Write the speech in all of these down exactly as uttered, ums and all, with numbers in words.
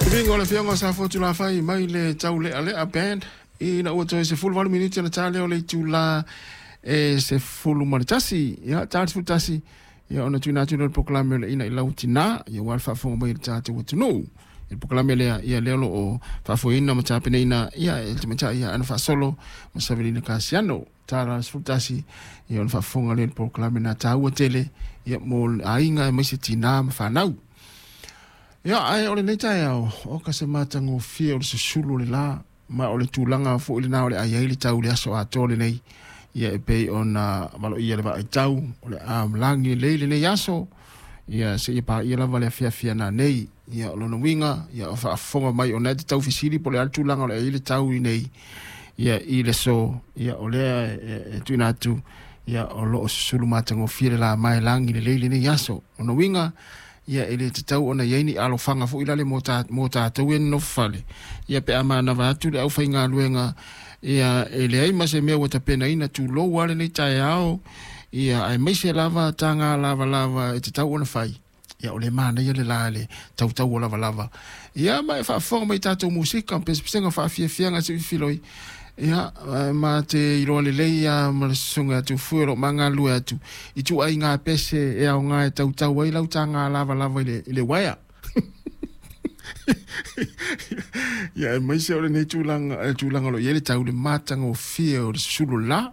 Vigo o le afioga o Safotu Lafai mai le Taulealea Band ina ua toe sefuluvalu minute ona ta lea o le itulā e sefulu ma le tasi. Ia, ta le sefulu tasi, ia, ona tuuina atu lea o le polokalame o le Ina i Lau Tinā, ia, ua le faafofoga mai i le tatou atunuu. I le polokalame lea, ia, lea o lo o faafoeina ma tapenaina, ia, e le tamaitai ia Ana Faasolo ma Savelina Kasiano. Ta la sefulu tasi, ia, ona faafofoga lea i le polokalame na taua tele, ia, mo aiga aemaise tinā ma fanau. Ia, ae o lenei taeao, o ka se matagofie o le susulu o le la, ma o le tulaga foi lena o le ai ai le tau le aso atoa lenei. Ia, e pei ona valoia le vaaitau, o le a lagi lelei lenei aso, ia, seia paia lava le afiafi ana nei. Ia, o lona uiga, ia, o faafofoga mai ona e te tau fesili po o le a le tulaga o le ai le tau i nei, ia, i le so, ia, o lea e, e tuuina atu, ia, o lo o susulu matagofie le la ma e lagi lelei lenei aso. O lona uiga, ia, e le tatau ona i ai ni alofaga foi lale mo ta mo tatou e nonofo fale, ia, pe a manava atu le aufaigaluega, ia, e leai ma se mea ua tapenaina, tulou a lenei taeao, ia, aemaise lava taga lavalava e tatau ona fai. Ia, o le manaia le la le tautau o lavalava, ia, ma e faafofoga mai tatou musika pesepesega faafiafiaga se filoi. Ia, ma te iloa lelei ia ma le susuga atu fue o lo magalue atu i ituaiga pese e aoga e tautau ai lau taga lavalava i le, i le uaea. Ia, aemaise o lenei tulaga, eh, tulaga o lo o i ai le tau le matagofie o le susulu la.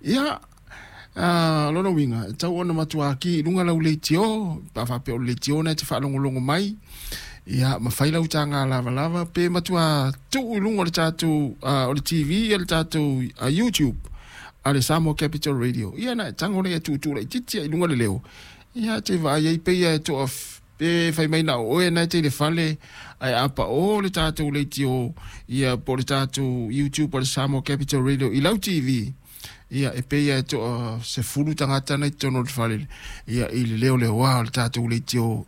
Ia, uh, lona uiga, e tau ona matuā ki i luga lau leitio, pa faapea o le leitio na e te faalogologo mai, ia, ma fai lau taga lavalava pe matua tuu i luga o le tatou uh, o le T V, ia, le tatou uh, YouTube a le Samoa Capital Radio. Ia, na e tago lea e tuutuu laitiiti i luga le leo. Ia, te vaai ai peia e toa pe fai mai na o oe na e te i le fale, ae a paʻō le tatou leitio, ia, po o le tatou YouTube a le Samoa Capital Radio i lau T V, ia, e peia e toa sefulu tagata na i totonu o le fale, ia, i le leo leoā o le tatou leitio.